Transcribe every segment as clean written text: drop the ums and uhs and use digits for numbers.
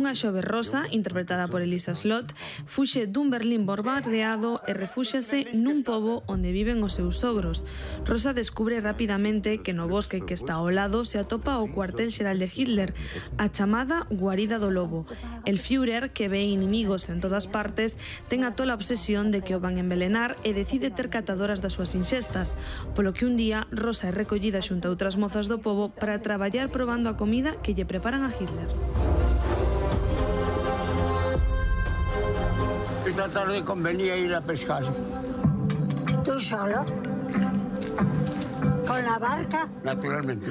Unha xove rosa, interpretada por Elisa Slott, fuxe dun Berlín bombardeado e refúxase nun pobo onde viven os seus sogros. Rosa descubre rapidamente que no bosque que está ao lado se atopa o cuartel xeral de Hitler, a chamada guarida do lobo. El Führer, que ve inimigos en todas partes, ten a tola obsesión de que o van envelenar e decide ter catadoras das súas inxestas, polo que un día Rosa é recollida xunto a outras mozas do pobo para traballar probando a comida que lle preparan a Hitler. Esta tarde convenía ir a pescar. ¿Tú solo? ¿Con la barca? Naturalmente.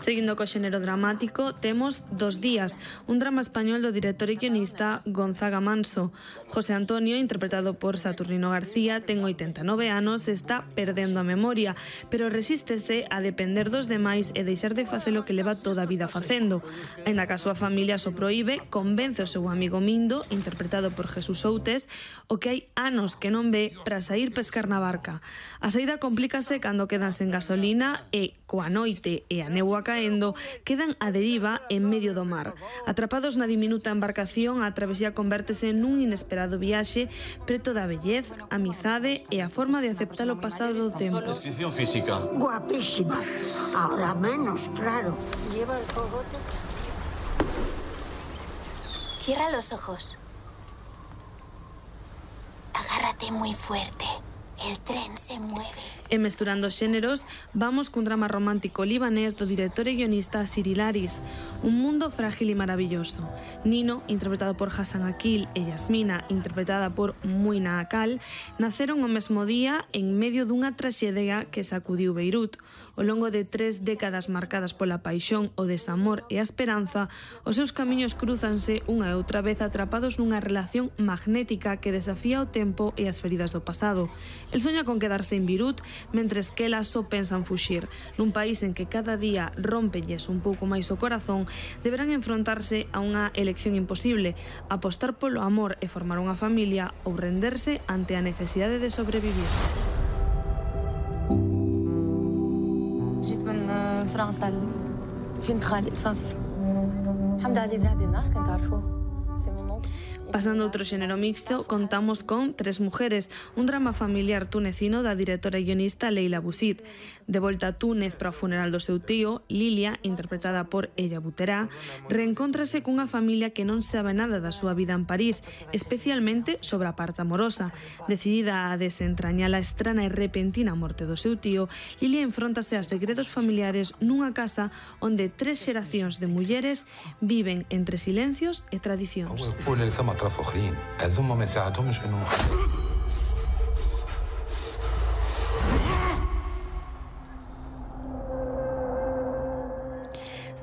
Seguindo co xénero dramático, temos Dos días, un drama español do director e guionista Gonzaga Manso. José Antonio, interpretado por Saturnino García, ten 89 anos e está perdendo a memoria, pero resístese a depender dos demais e deixar de facer o que leva toda a vida facendo. Ainda que a súa familia so proíbe, convence o seu amigo Mindo, interpretado por Jesús Outes, o que hai anos que non ve para sair pescar na barca. A saída complícase cando quedan sen gasolina e, coa noite e a néboa caendo, quedan a deriva en medio do mar. Atrapados na diminuta embarcación, a travesía convértese nun inesperado viaxe preto da vellez, amizade e a forma de aceptar o pasado do tempo. Descripción física. Guapísima. Ahora menos, claro. Lleva el cogote. Cierra los ojos. Agárrate muy fuerte. El tren se mueve. E mesturando xéneros, vamos cun drama romántico libanés do director e guionista Cyril Aris, Un mundo frágil e maravilloso. Nino, interpretado por Hassan Akil, e Yasmina, interpretada por Muina Akal, naceron o mesmo día en medio dunha traxedia que sacudiu Beirut. Ao longo de 3 décadas marcadas pola paixón, o desamor e a esperanza, os seus camiños cruzanse unha e outra vez atrapados nunha relación magnética que desafía o tempo e as feridas do pasado. El soña con quedarse en Beirut, mentres que elas só pensan fuxir. Nun país en que cada día rompelles un pouco máis o corazón, deberán enfrontarse a unha elección imposible: apostar polo amor e formar unha familia ou renderse ante a necesidade de sobrevivir. جيت من فرنسا فين خالي الفاضل الحمد لله ذهبي الناس كنت تعرفوه. Pasando a outro xénero mixto, contamos con Tres mujeres, un drama familiar tunecino da directora e guionista Leila Bouzid. De volta a Túnez para o funeral do seu tío, Lilia, interpretada por Ella Buterá, reencóntrase cunha familia que non sabe nada da súa vida en París, especialmente sobre a parte amorosa. Decidida a desentrañar a estrana e repentina morte do seu tío, Lilia enfróntase a segredos familiares nunha casa onde 3 xeracións de mulleres viven entre silencios e tradicións. أطراف آخرين هذوما ما يساعدهمش إنهم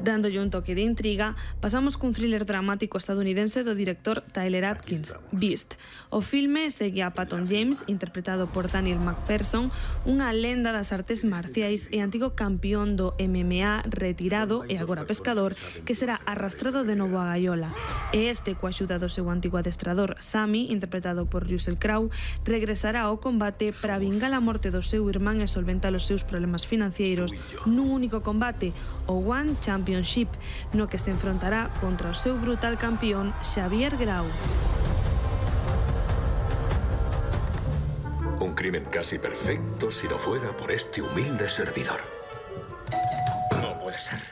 Dándolle un toque de intriga, pasamos cun thriller dramático estadounidense do director Tyler Atkins, Beast. O filme segue a Patton James, interpretado por Daniel McPherson, unha lenda das artes marciais e antigo campeón do MMA retirado e agora pescador, que será arrastrado de novo a gaiola. E este, coa axuda do seu antigo adestrador, Sammy, interpretado por Russell Crowe, regresará ao combate para vingar a morte do seu irmán e solventar os seus problemas financeiros nun único combate, o One Championship, no que se enfrontará contra o seu brutal campeón Xavier Grau. Un crimen casi perfecto si no fuera por este humilde servidor. No puede ser.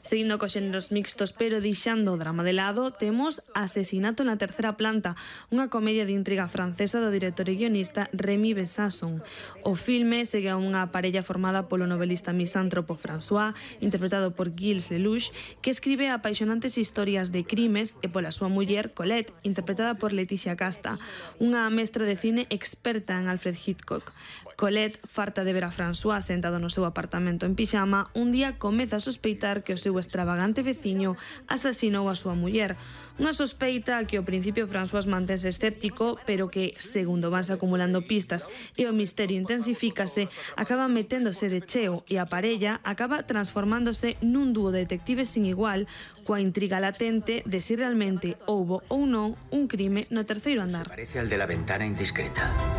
Seguindo cos xéneros mixtos pero deixando o drama de lado, temos Asesinato na tercera planta, unha comedia de intriga francesa do director e guionista Rémi Besasson. O filme segue a unha parella formada polo novelista misántropo François, interpretado por Gilles Lelouch, que escribe apaixonantes historias de crimes, e pola súa muller Colette, interpretada por Leticia Casta, unha mestra de cine experta en Alfred Hitchcock. Colette, farta de ver a François sentado no seu apartamento en pixama, un día comeza a sospeitar que o seu extravagante veciño asasinou a súa muller. Unha sospeita que ao principio François mantense escéptico, pero que, segundo vanse acumulando pistas e o misterio intensifícase, acaba meténdose de cheo e a parella acaba transformándose nun dúo de detectives sin igual, coa intriga latente de si realmente houbo ou non un crime no terceiro andar. Parece al de la ventana indiscreta.